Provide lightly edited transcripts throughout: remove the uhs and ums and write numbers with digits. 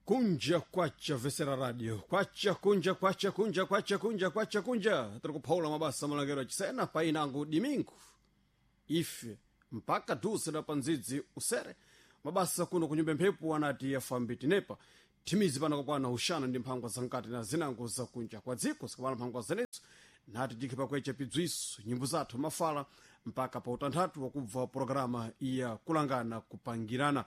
Kunja kwacha vesera radio kwacha kunja kwacha kunja kwacha kunja kwacha kunja tiri kuphaula mabasa malangero achisena painango dimingu ife mpaka duse pa ndzidzi usere mabasa kuno kunyumba mphepo anati yafambi tinepa thimizi pano kakwana uxana ndi mphangwa zankati na zinango zakunja kwa dziko zikamala mphangwa zenezo nati tikhe pakwecha pidzwiso nyimbo zathu mafala mpaka pa utanthatu wakubva programa iya kulangana kupangirana.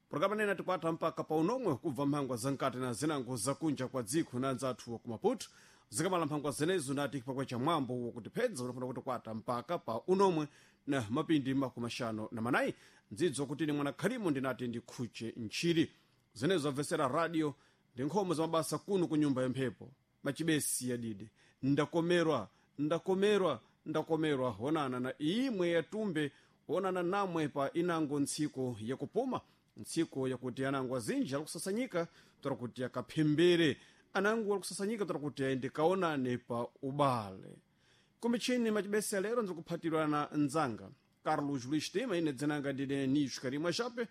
Programa nene tikwatha mpaka pa unomwe kubva mphangwa zankati na zinango zakunja kwa dziko na anzathu wa kumaputo. Zikamala mphangwa zenezo nati pakwecha mwambo wakutiphedza unafuna kutikwata mpaka pa unomwe na mapindi 54. Ndzidzo kuti ine mwana khalimo ndinati ndikhuche ntchiri zenezo amvesera radio ndi nkhomo za mabasa kuno ku nyumba ya mphepo machibesi yadidi. Ndakomerwa, ndakomerwa, ndakomerwa honana na imwe yatumbe honana namwe pa inango ntsiko yakupuma ntsiko yakuti anango azinji alikusasanyika tora kuti akaphembere anango alikusasanyika tora kuti aende kaonane pa ubale. Kumichini machibesi alero ndikuphatirwa na nzanga Carlos Luis Tema. Ine dzinanga ndine Nicho Karimwa Chape.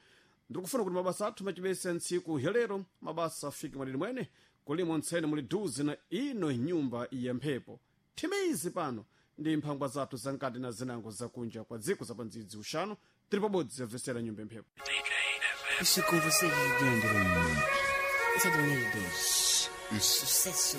Ndikufuna kuti mabasa athu machibesi a ntsiku yalero mabasa afike mwadidi mwene kulimo ntsene muli duze na ino nyumba ya mphepo thimizi pano ndi mphangwa zathu zankati na zinango zakunja kwa dziko zapandzidzi uxano tiri pabodzi yabvesera nyumba ya mphepo. Isso com você, Leandro. Esse é do Unidos. Sucesso.